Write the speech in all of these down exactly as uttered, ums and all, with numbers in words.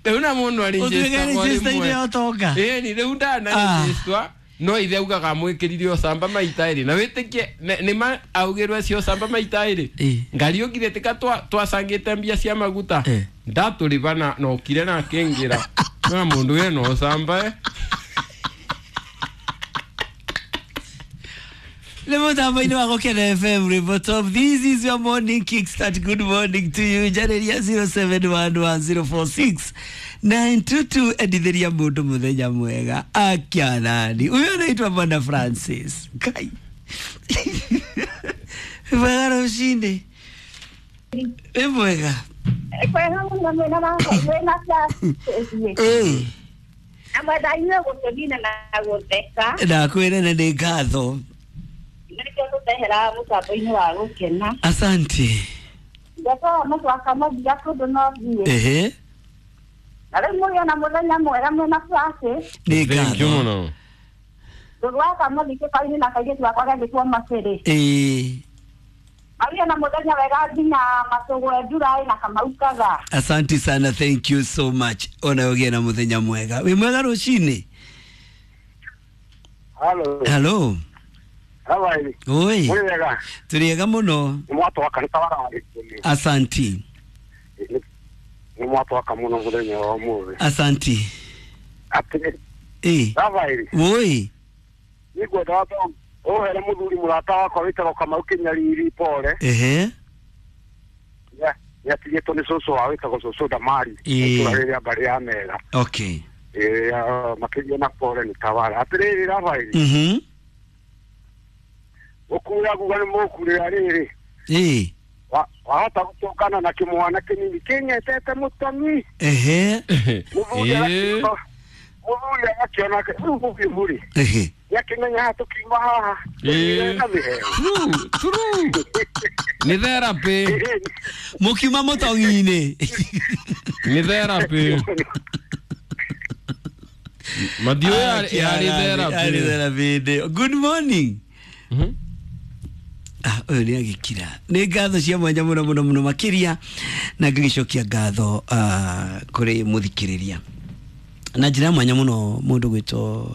Rĩu na mũndũ Ũtuĩke register-inĩ ya ũtonga. Ĩni rĩu ndanarĩnjĩstwa no ithe augaga amwĩkĩrire ũcamba maita ĩrĩ na wĩtĩkie nĩ- nĩma augĩrwo cio ũcamba maita ĩrĩ. Ĩ. Ngariũkire tika twa- twacangĩte mbia cia maguta. Eh. Ndatũrĩba na nokire na akĩngĩra na mũndũ wena ũcamba eh. Nĩ mũtambo-inĩ wa Gũkena F M Rainbow Top. This is your morning kickstart. Good morning to you. Njarĩria zero seven one one zero four six nine two two. Endithĩria mũndũ mũthenya mwega. Akianani. Huyo anaitwa Bwana Francis. Kai. Mwega rũcinĩ. Wĩ mwega. Kwega mũno mwĩna wa- mwĩna Francis. Ĩ. Amwetha inyuĩ gũtũnina na gũtheka. Ndakwĩra na nĩ ngatho. Nĩkĩo tũteheraga mũtambo-inĩ wa gũkena. Asante. Ngetoa mũtwaka mũthia kũndũ no thiĩ. Ehe. Na rĩu mũgĩe na mũthenya mwega mwĩna Francis. Nĩ Thank you ngatho. mũno. Ndũgwaka mũthi kĩbaũ-inĩ na kairĩtu gakwa gegĩtwo Macĩrĩ. Ĩ. Magĩe na mũthenya wega nginya Matũgwe Ndurai na Kamau Kaga. Asante sana, thank you so much. Ona ũgĩe na mũthenya mwega. Wĩ mwega rũcinĩ? Halo. Hello. Habari. Oi. Muri wega. Tũrĩ ega mũno. Nĩ mwatwaka nĩ tawararĩ. Asanti. Nĩ mwatwaka mũno mũthenya wa ũmũthĩ. Asanti. Atĩ Ĩ. Habari. Oi. Nĩngwenda wambe ũhere mũthuri mũrata wakwa wĩtagwo Kamau Kĩnyariri pole. Ehe. Nĩ atigĩtwo nĩ cũcũ wao wĩtagwo cũcũ Damari. Ĩ. Itũũra rĩrĩa mbarĩ ya Mega. Okay. Ĩ, ah, makĩria na pole nĩ tawara. Atĩrĩrĩ Rafaeli. Mhm. Gũkura nguga nĩ mũkurĩra rĩrĩ. Ĩ. Wa- wahota gũtũngana na kĩmwana kĩnini kĩng'etete mũtoni. Ehe. Mũthuri Ĩ. agakĩona- mũthuri agakĩona rĩu mũhiũ rĩ Ehe. nĩakĩmenya haha tũkiuma haha Ĩ. na mĩheo. True, true. Nĩ therapy. Mũkiuma mũtong'i-inĩ. Nĩ therapy. Mathiũ yarĩ Arĩ therapy. therapy ndĩ. Good morning. Mhm. Ah, ũyũ nĩ agĩkira. Nĩ ngatho cia mwanya mũno mũno mũno makĩria na ngagĩcokia ngatho ah, kũrĩ mũthikĩrĩria na njĩra ya mwanya mũno mũndũ gwĩtwo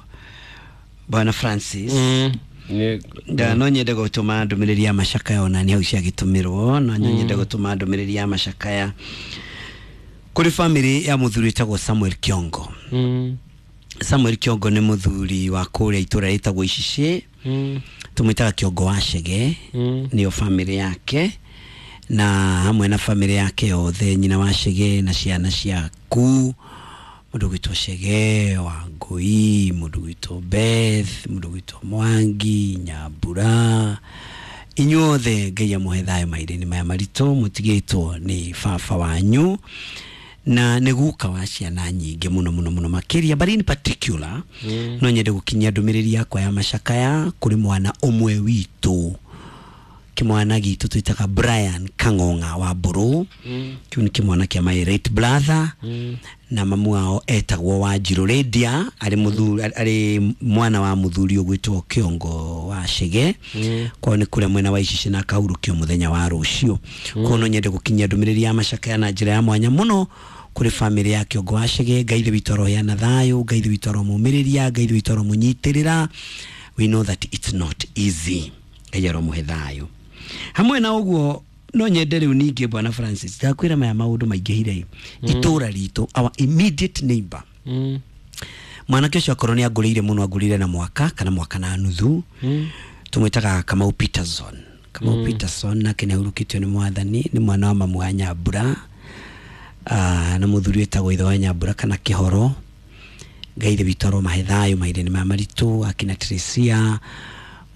Bwana Francis. Mm. Nĩ- Nda no nyende gũtũma ndũmĩrĩri ya macakaya ona nĩ hau ciagĩtũmĩrwo no nyende gũtũma ndũmĩrĩri ya macakaya kũrĩ famĩlĩ ya mũthuri wĩtagwo Samuel Kiongo. Mm. Samuel Kiongo nĩ mũthuri wa kũrĩa itũũra rĩtagwo Icicĩ. Mm. Tũmwĩtaga Kiongo wa Chege. Mm. Nĩyo famĩlĩ yake na hamwe na famĩlĩ yake yothe, nyina wa Chege na ciana ciaku, mũndũ gwĩtwo Chege wa Ngũi, mũndũ gwĩtwo Beth, mũndũ gwĩtwo Mwangi Nyambura, inyuothe Ngai amũhe thayũ mahinda-inĩ maya maritũ mũtigĩtwo nĩ baba wanyu na nĩ guka wa ciana nyingĩ mũno mũno mũno makĩria, but in particular Mm. no nyende gũkinyia ndũmĩrĩri yakwa ya macakaya kũrĩ mwana ũmwe witũ, kĩmwana gitũ twĩtaga Brian Kang'ong'a wa Mbũrũ. Mm. Kĩu nĩ kĩmwana kĩa my late brother Mm. na mamu wao etagwo Wanjirũ Lydia, arĩ mũthuri arĩ mwana wa mũthuri ũgwĩtwo Kĩongo wa Chege. Mm. Kwao nĩ kũrĩa mwena wa Icicĩ na akahurũkio mũthenya wa rũciũ. Koguo no nyende gũkinyia ndũmĩrĩri ya macakaya na njĩra ya mwanya mũno kũrĩ famĩlĩ ya Kĩongo wa Chege. Ngai ithe witũ aroheana thayũ, Ngai ithe witũ aromũmĩrĩria, Ngai ithe witũ aromũnyitĩrĩra. We know that it's not easy. Ngai aromũhe thayũ. Hamwe na ũguo no nyende rĩu ningĩ Bwana Francis ndakwĩra maya maũndũ maingĩhire itũũra ritũ, our immediate neighbor, Mm. mwanake ũcio akorwo nĩ angũrĩire mũno, angũrĩire na mwaka kana mwaka na nuthu. Mm. Tũmwĩtaga Kamau Peterson. Kamau Peterson nake nĩ ahurũkĩtio nĩ mwathani, nĩ mwana wa mamu wa Nyambura ah, na mũthuri wĩtagwo ithe wa Nyambura kana Kĩhoro. Ngai ithe witũ aromahe thayũ mahinda-inĩ maya maritũ, akina Teresia,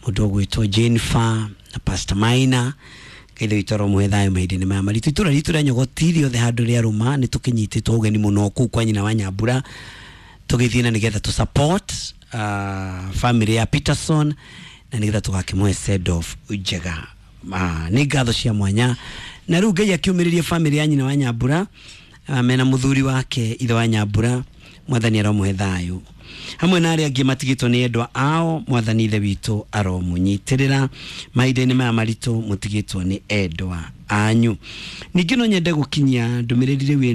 mũndũ ũgwĩtwo Jennifer na Pastor Maina. Ngai ithe witũ aromũhe thayũ mahinda-inĩ maya maritũ. Itũũra ritũ rĩa Nyogoti rĩothe handũ rĩa rũma nĩ tũkĩnyitĩtwo ũgeni mũno kũu kwa nyina wa Nyambura, tũgĩthiĩ na nĩgetha tũ support uh, family ya Peterson na nĩgetha tũgakĩmũhe send off njega. Ah, nĩ ngatho cia mwanya na rĩu Ngai akĩũmĩrĩrie family ya nyina wa Nyambura ah, mena mũthuri wake ithe wa Nyambura, mwathani aromũhe thayũ hamwe na arĩa angĩ matigĩtwo nĩ endwa ao, mwathani ithe witũ aromũnyitĩrĩra mahinda-inĩ maya maritũ mũtigĩtwo nĩ endwa anyu. Ningĩ no nyende gũkinyia ndũmĩrĩri rĩu ĩno.